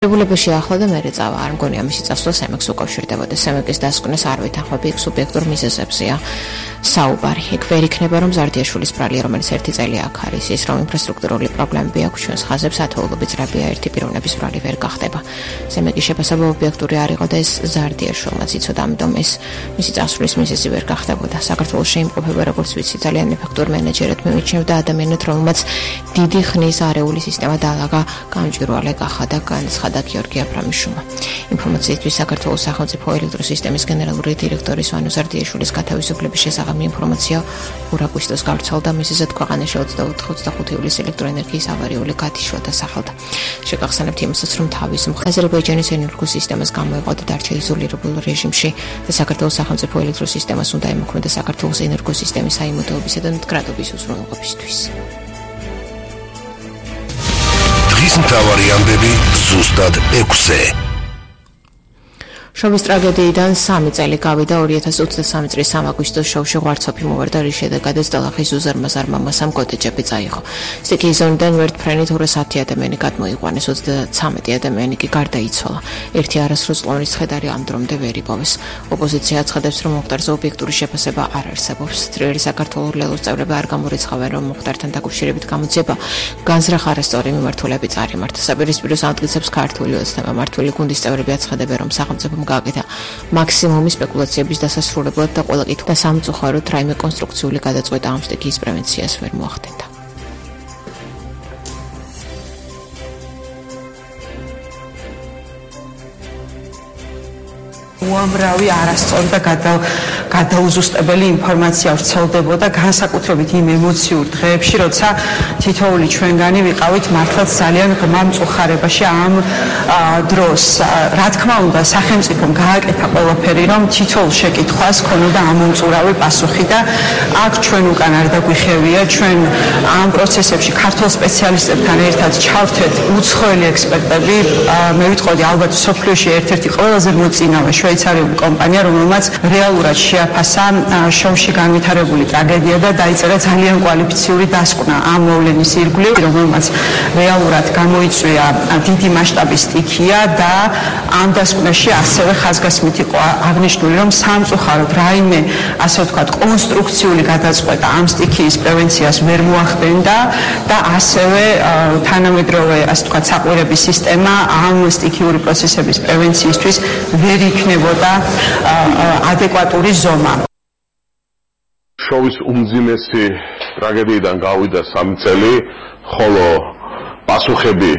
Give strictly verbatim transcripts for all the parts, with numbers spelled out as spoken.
რეგულირებაში ახლა და მერე წავა არ მგონია მისი წასვლა სემეკს უკავშირდებოდა. სემეკის დასკვნას არ ვითანხმები იქ სუბიექტურ მიზეზებზეა საუბარი. იქ ვერ იქნება რომ ზარდიაშვილის ბრალი რომელიც ერთი წელი აქ არის ის რომ ინფრასტრუქტურული პრობლემები აქვს ჩვენს ხაზებს ათეულობით ძრებია ერთი პიროვნების ბრალი ვერ გახდება. სემეკის შეფასება ობიექტური არ იყო და ეს ზარდიაშვილმაც იცოდა ამიტომ ეს მისი წასვლის მიზეზი ვერ გახდებოდა. საქართველოს შეიმყოფება როგორც ვიცი ძალიან ეფექტურ მენეჯერად მივიჩნევდა ადამიანად რომელმაც დიდი ხნის არეული სისტემა დაალაგა გამჭვირვალე გახა და განცხადა და გიორგი აბრამიშვილმა. ინფორმაციისთვის საქართველოს სახელმწიფო ელექტროსისტემის გენერალური დირექტორის ვანო ზარდიაშვილის გათავისუფლების შესახებ ინფორმაცია ორ აგვისტოს გავრცელდა მისეზად ქვეყანაში ოცდაოთხ ოცდახუთი ივლისის ელექტროენერგიის ავარიული გათიშვა დასახელდა. შეგახსენებთ იმასაც რომ თავის მხრივ აზერბაიჯანის ენერგოსისტემას გამოიყო და დარჩა იზოლირებულ რეჟიმში და საქართველოს სახელმწიფო ელექტროსისტემას უნდა ემოქმედა საქართველოს ენერგოსისტემის საიმედოობისა და მდგრადობის უზრუნველყოფისთვის. დღის მთავარი ამბები ზუსტად ექვსზე. შოვის ტრაგედიიდან სამი წელი გავიდა ორი ათას ოცდასამი წლის სამ აგვისტოს შოვში ღვარცოფი მოვარდა რის შედეგადაც დალახის უზარმაზარ მამასამ გოდეჯები წაიღო. სტიქიის ზონიდან ვერტფრენით ორას ათი ადამიანი გადმოიყვანეს, ოცდაცამეტი ადამიანი კი გარდაიცვალა. ერთი არასრულ წყლონის ცხედარი ამ დრომდე ვერ იპოვეს. ოპოზიცია აცხადებს რომ მოხდარზე ობიექტური შეფასება არ არსებობს. ძლიერი საქართველოს ლელოს წევრები არ გამორიცხავენ რომ მოხდართან დაკავშირებით გამოძიება განზრახ არასწორი მიმართულებით წარიმართა. საპირისპიროს ამტკიცებს ქართული ოცნება მმართველი გუნდის წევრები აცხადებენ რომ სახელმწიფო გააკეთა მაქსიმუმი სპეკულაციების დასასრულებლად და ყველა კითხვა სამწუხაროდ რაიმე კონსტრუქციული გადაწყვეტა ამ სტიქიის პრევენციას ვერ მოახდენდა. უამრავი არასწორი და გადაუზუსტებელი ინფორმაცია ვრცელდებოდა განსაკუთრებით იმ ემოციურ დღეებში, როცა თითოეული ჩვენგანი ვიყავით მართლაც ძალიან ღრმა მწუხარებაში ამ დროს. რა თქმა უნდა, სახელმწიფომ გააკეთა ყველაფერი, რომ თითოეულ შეკითხვას ქონოდა ამომწურავი პასუხი და აქ ჩვენ უკან არ დაგვიხევია, ჩვენ ამ პროცესებში ქართულ სპეციალისტებთან ერთად ჩავთვეთ უცხოელი ექსპერტები. მე ვიტყოდი ალბათ სოფლიოში ერთ-ერთი ყველაზე მოწინავე შვეიცარიული კომპანია, რომელმაც რეალურად შეაფასა შოვში განვითარებული ტრაგედია და დაიწერა ძალიან კვალიფიციური დასკვნა ამ მოვლენის ირგვლივ, რომელმაც რეალურად გამოიწვია დიდი მასშტაბის სტიქია და ამ დასკვნაში ასევე ხაზგასმით იყო აღნიშნული, რომ სამწუხაროდ რაიმე ასე ვთქვათ კონსტრუქციული გადაწყვეტა ამ სტიქიის პრევენციას ვერ მოახდენდა და ასევე თანამედროვე ასე ვთქვათ საყვირების სისტემა ამ სტიქიური პროცესების პრევენციისთვის ვერ იქნებოდა ადეკვატური ზომა. შოვის უმძიმესი ტრაგედიიდან გავიდა სამი წელი, ხოლო პასუხები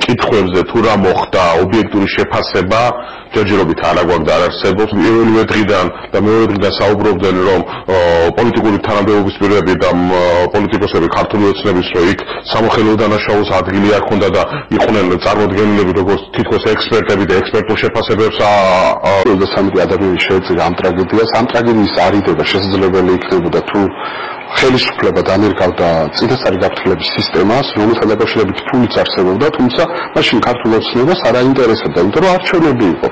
კითხვებზე თუ რა მოხდა, ობიექტური შეფასება ჯერჯერობით არ აგვაქვს და არ არსებობს. პირველივე დღიდან და მეორე დღიდან საუბრობდნენ რომ პოლიტიკური თანამდებობის პირები და პოლიტიკოსები ქართული ოცნების რომ იქ სამოხელეო დანაშაულს ადგილი არ ჰქონდა და იყვნენ წარმოდგენილები როგორც თითქოს ექსპერტები და ექსპერტულ შეფასებებს ოცდასამი ადამიანი შეეწირა ამ ტრაგედიას. ამ ტრაგედიის არიდება შესაძლებელი იქნებოდა თუ ხელისუფლება დამირგავდა წინასწარი გაფრთხილების სისტემას, რომელთან დაკავშირებით ფულიც არსებობდა, თუმცა მაშინ ქართულ ოცნებას არ აინტერესებდა, იმიტომ რომ არჩევნები იყო.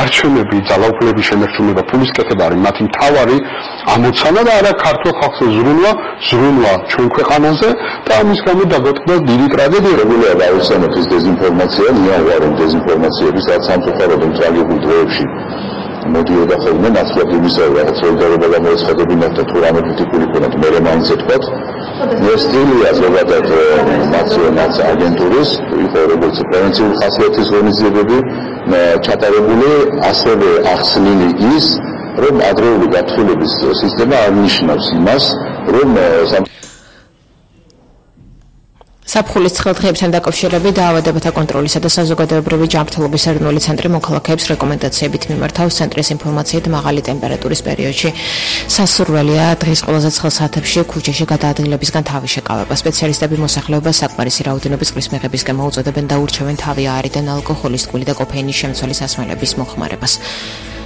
არჩევნები, ძალაუფლების შენარჩუნება, ფულის კეთება არის მათი მთავარი ამოცანა და არა ქართულ ხალხს ზრუნვა, ზრუნვა ჩვენ ქვეყანაზე და ამის გამო დაგვეტყდა დიდი ტრაგედია. რეგულარულად ავიხსენებთ ეს დეზინფორმაცია, ნიავარი დეზინფორმაციები, სადაც სამწუხაროდ ტრაგიკულ დღეებში მოდიოდა ხოლმე ნაცვლად იმისა, რაღაც სოლიდარობა გამოეცხადებინათ და თუ რამე კრიტიკული ქონათ, მე მაინც ეთქვათ. ეს სტილია ზოგადად ნაციონალ აგენტურის, იყო როგორც პრევენციული ხასიათის ღონისძიებები ჩატარებული, ასევე ახსნილი ის, რომ ადრეული გაფრთხილების სისტემა არ ნიშნავს იმას, რომ საფხულის ცხელდღეებთან დაკავშირებით დაავადებათა კონტროლისა და საზოგადოებრივი ჯანმრთელობის ეროვნული ცენტრი მოქალაქეებს რეკომენდაციებით მიმართავს ცენტრის ინფორმაციით მაღალი ტემპერატურის პერიოდში სასურველია დღის ყველაზე ცხელ საათებში ქუჩაში გადაადგილებისგან თავის შეკავება. სპეციალისტები მოსახლეობას საკმარისი რაოდენობის წყლის მიღებისკენ მოუწოდებენ და ურჩევენ თავი აარიდან ალკოჰოლის, ტკბილი და კოფეინის შემცველი სასმელების მოხმარებას.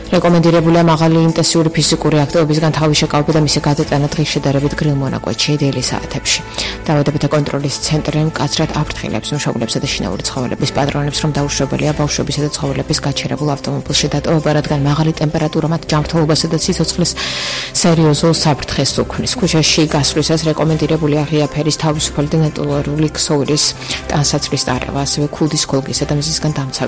რეკომენდირებულია მაღალი ინტენსიური ფიზიკური აქტივობისგან თავის შეკავება და მისი გადატანა დღის შედარებით გრილ მონაკვეთში დელი საათებში. დაავადებათა კონტროლის ცენტრი მკაცრად აფრთხილებს მშობლებსა და შინაური ცხოველების პატრონებს, რომ დაუშვებელია ბავშვებისა და ცხოველების გაჩერებულ ავტომობილში დატოვება, რადგან მაღალი ტემპერატურა მათ ჯანმრთელობასა და სიცოცხლის სერიოზულ საფრთხეს უქმნის. ქუჩაში გასვლისას რეკომენდირებულია ღია ფერის თავისუფალი და ნატურალური ქსოვილის ტანსაცმლის ტარება, ასევე ქუდის, ქოლგისა და მზისგან დამცავი